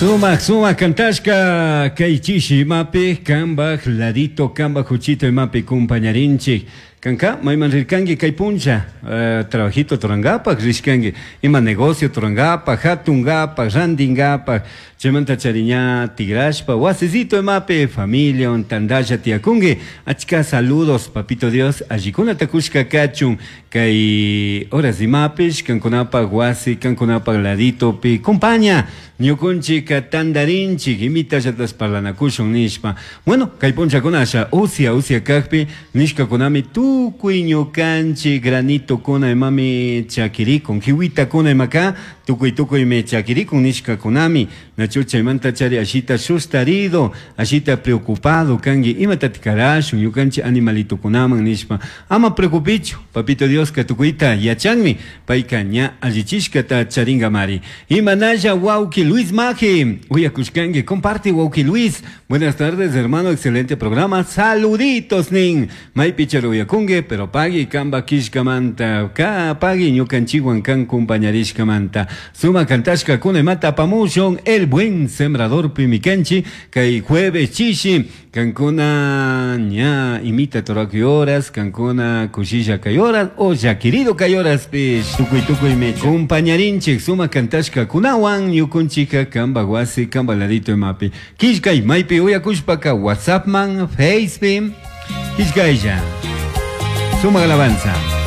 Sumak sumak kantashka kay chishi imapi kambaj ladito kambaj juchito imapi kumpañarinchik. Kanka mayman rirkanki kay puncha trabajito turankapak rishkanki ima negocio turankapak hatunkapak rantinkapak chaymanta chari ña tigrashpa wasisito imapi familiawan tantalla tiyakunki achka saludos papito Dios allikunata kushka kachun kay horas imapish kankunapak wasi kankunapak laditopi compaña ñukunchikka tantarinchik imitallatas parlanakushun nishpa. Bueno, kay punchakuna asha usia usia kakpi nishkakunami tukuy ñukanchik granitokuna imami chakirikun, jiwitakuna imaka tukuy tukuymi chakirikun nishkakunami. Nachu chaymanta chari ashita sustarido, ashita preocupado kanki imatatik karashun ñukanchik animalitokunaman nishpa. Ama preocupichu, Papito Dioska tukuyta yachanmi, payka ña allichishkata charingamari. Imanalla wawki Luis Maje, uyakushkanki, comparte wawki Luis. Buenas tardes hermano, excelente programa, saluditos nin. Maypi chari uyakunki, pero pagui kamba kishkamanta, ka pagui ñukanchikwan kan compañarishkamanta. Sumak kantashkakuna imata apamushun, El Buen Sembradorpi mikanchik, kay jueves chishi. Kankuna ña imita turakuy horas, kankuna kushilla kay horas o llakirido kay horaspish tukuy tukuymi compañarinchik sumak kantashkakunawan ñukunchikka kambak wasi kambak ladito imapi killkay maypi uyakushpaka WhatsAppman, Facepi killkaylla. Sumak alabanza.